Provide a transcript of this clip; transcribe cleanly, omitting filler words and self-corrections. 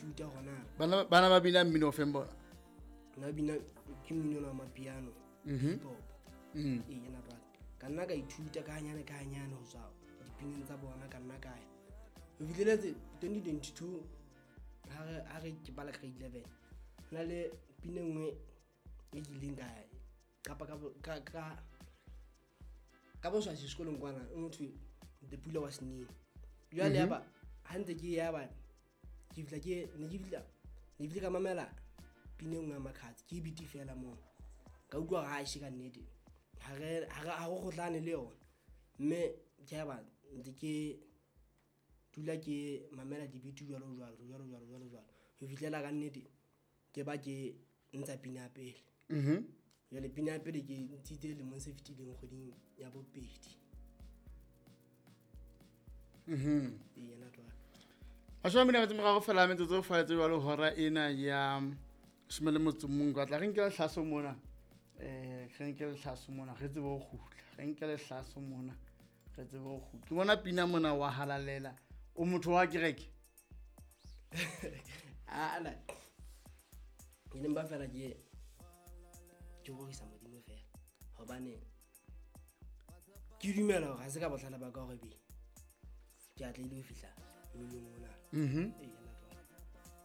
ithuta gona. Bana ba bina mmino o feng bona? Nna bina ke mmino wa mapiano, hip hop. Ee, yena jwale ka nna ka ithuta ka hanyane ka hanyane ho tswa dipineng tsa bona. Ka nna ka ya ho fihleletse 2022, ha re ke bala grade 11, ho na le pina e nngwe e ke ileng ka qapa ka boswasi sekolong kwana, e ho thwe "The Pula Was Neng". Jwale ya ba ha ntse ke ya ba ke fihla, ke ne ke fihla, ne ke ka mamela pina e nngwe ya Makhadzi, ke beat fela moo, ka utlwa hore aishe, ka nnete ha re kgohlane le yona. Mme ke ya ba ntse ke dula ke mamela di-beat jwalo jwalo jwalo jwalo jwalo jwalo, ho fihlela ka nnete ke ba ke ntsha pina ya pele. Jwale pina ya pele ke ntshitse lemong se fetileng, kgweding ya bobedi. Ee, yena jwale. 23 fela metsotso faletse jwalo hora ena ya 11. Ka tla re nke lehlaso mona, re nke lehlaso mona, re tsebe ho kgutla. Re nke lehlaso mona, re tsebe ho kgutla. Ke bona pina mona wa halalela. O motho wa kereke? Ala, ke ne mpa fela ke rorisa Modimo fela, hobane ke dumela hore ha se ka bohlale ba ka hore be ke atlehile ho fihla mminong ona. Ee.